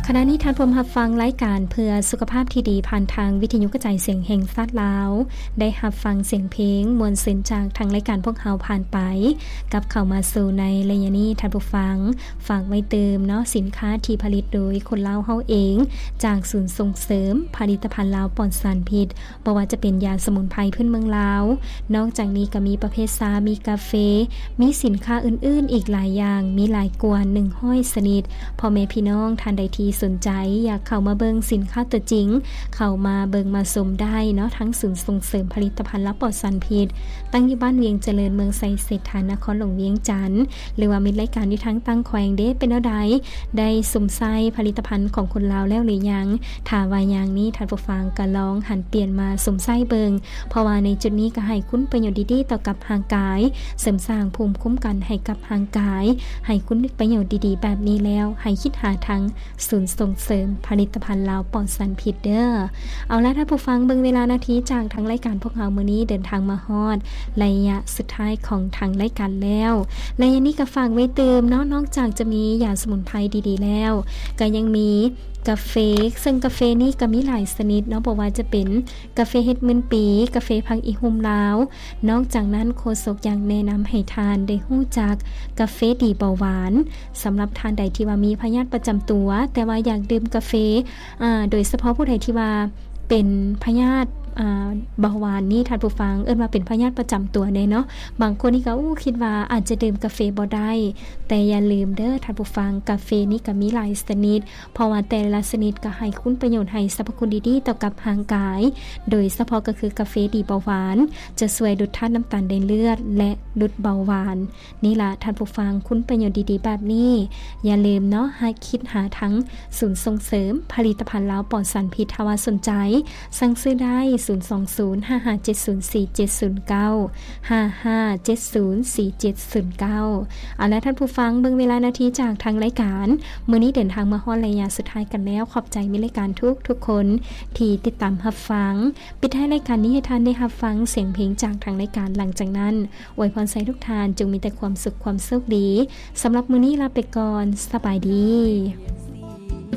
ຂະນະນີ້ທ່ານຜູ້ຮັບຟັງລາຍການເພື່ອສຸຂະພາບທີ່ດີ ຜ່ານທາງວິທະຍຸກະຈາຍສຽງແຫ່ງຊາດລາວ ໄດ້ຮັບຟັງສຽງເພງມ່ວນຊື່ນຈາກທາງລາຍການພວກເຮົາຜ່ານໄປ. ກັບເຂົ້າມາສູ່ໃນໄລຍະນີ້ ທ່ານຜູ້ຟັງ ຝາກໄວ້ຕື່ມເນາະ ສິນຄ້າທີ່ຜະລິດໂດຍຄົນລາວເຮົາເອງ ຈາກສູນສົ່ງເສີມຜະລິດຕະພັນລາວປອດສານພິດ. ບໍ່ວ່າຈະເປັນຢາສະໝຸນໄພພື້ນເມືອງລາວ, ນອກຈາກນີ້ກໍມີປະເພດຊາ, ມີກາເຟ, ມີສິນຄ້າອື່ນໆອີກຫຼາຍຢ່າງ, ມີຫຼາຍກວ່າໜຶ່ງຮ້ອຍຊະນິດ. ພໍ່ແມ່ພີ່ນ້ອງທ່ານໃດທີ່ສົນໃຈຢາກເຂົ້າມາເບິ່ງສິນຄ້າຕົວຈິງ, ເຂົ້າມາເບິ່ງມາຊົມໄດ້ເນາະ, ທັງສູນສົ່ງເສີມຜະລິດຕະພັນລາວປອດສານພິດ, ຕັ້ງຢູ່ບ້ານວຽງຈະເລີນ, ເມືອງໄຊເສດຖາ, ນະຄອນຫຼວງວຽງຈັນ. ຫຼືວ່າມິດລາຍການຢູ່ທາງຕ່າງແຂວງເດ້ ເປັນແນວໃດ? ໄດ້ຊົມໃຊ້ຜະລິດຕະພັນຂອງຄົນລາວແລ້ວຫຼືຍັງ? ຖ້າວ່າຍັງນີ້ ທ່ານຜູ້ຟັງກໍລອງຫັນປ່ຽນມາຊົມໃຊ້ເບິ່ງ, ເພາະວ່າໃນຈຸດນີ້ກໍໃຫ້ຄຸນປະໂຫຍດດີໆຕໍ່ກັບຮ່າງກາຍ, ເສີມສ້າງພູມຄຸ້ມກັນໃຫ້ກັບຮ່າງກາຍ, ໃຫ້ຄຸນປະໂຫຍດດີໆແບບນີ້ແລ້ວ ໃຫ້ຄິດຫາທາງ ສູນສົ່ງເສີມຜະລິດຕະພັນລາວປອດສານພິດເດີ. ເອົາລະທ່ານຜູ້ຟັງ, ເບິ່ງເວລານາທີຈາກທາງລາຍການພວກເຮົາມື້ນີ້ເດີນທາງມາຮອດໄລຍະສຸດທ້າຍຂອງທາງລາຍການແລ້ວ. ໄລຍະນີ້ກໍຝາກໄວ້ຕື່ມເນາະ, ນອກຈາກຈະມີຢາສະໝຸນໄພດີໆແລ້ວ, ກໍຍັງມີກາເຟ, ເຊິ່ງກາເຟນີ້ກໍມີຫຼາຍຊະນິດເນາະ, ບໍ່ວ່າຈະເປັນກາເຟເຮັດໝື່ນປີ, ກາເຟຜັກອີ່ຮຸ່ມລາວ. ນອກຈາກນັ້ນ ໂຄສົກຍັງແນະນຳໃຫ້ທ່ານໄດ້ຮູ້ຈັກກາເຟດີເບົາຫວານ. ສຳລັບທ່ານໃດທີ່ວ່າມີພະຍາດປະຈຳຕົວ ແຕ່ວ່າຢາກດື່ມກາເຟ, ອາ, ໂດຍສະເພາະຜູ້ໃດທີ່ວ່າເປັນພະຍາດ, ອາ, ເບົາຫວານນີ້ ທ່ານຜູ້ຟັງ, ເອີ້ນວ່າເປັນພະຍາດປະຈຳຕົວແດ່ເນາະ. ບາງຄົນນີ້ກໍ, ໂອ້, ຄິດວ່າອາດຈະດື່ມກາເຟບໍ່ໄດ້, ແຕ່ຢ່າລືມເດີທ່ານຜູ້ຟັງ, ກາເຟນີ້ກໍມີຫຼາຍຊະນິດ, ເພາະວ່າແຕ່ລະຊະນິດກໍໃຫ້ຄຸນປະໂຫຍດ, ໃຫ້ສັບພະຄຸນດີໆຕໍ່ກັບຮ່າງກາຍ, ໂດຍສະເພາະກໍຄືກາເຟດີເບົາຫວານ, ຈະຊ່ວຍຫຼຸດທາດນ້ຳຕານໃນເລືອດ ແລະ ຫຼຸດເບົາຫວານ. ນີ້ລະທ່ານຜູ້ຟັງ, ຄຸນປະໂຫຍດດີໆແບບນີ້ ຢ່າລືມເນາະ, ໃຫ້ຄິດຫາທັງສູນສົ່ງເສີມຜະລິດຕະພັນລາວປອດສານພິດ. ຖ້າວ່າສົນໃຈ, ສັ່ງຊື້ໄດ້ ສູນສອງສູນ ຫ້າຫ້າເຈັດສູນ ສີ່ເຈັດສູນເກົ້າ, ຫ້າຫ້າເຈັດສູນ ສີ່ເຈັດສູນເກົ້າ. ເອົາລະທ່ານຜູ້ຟັງ, ເບິ່ງເວລານາທີຈາກທາງລາຍການ, ມື້ນີ້ເດີນທາງມາຮອດໄລຍະສຸດທ້າຍກັນແລ້ວ. ຂອບໃຈມິດລາຍການທຸກໆຄົນທີ່ຕິດຕາມຮັບຟັງ. ປິດທ້າຍລາຍການນີ້ໃຫ້ທ່ານໄດ້ຮັບຟັງສຽງເພງຈາກທາງລາຍການ. ຫຼັງຈາກນັ້ນ ອວຍພອນໃຫ້ທຸກທ່ານຈົ່ງມີແຕ່ຄວາມສຸກຄວາມໂຊກດີ. ສຳລັບມື້ນີ້ລາໄປກ່ອນ. ສະບາຍດີ.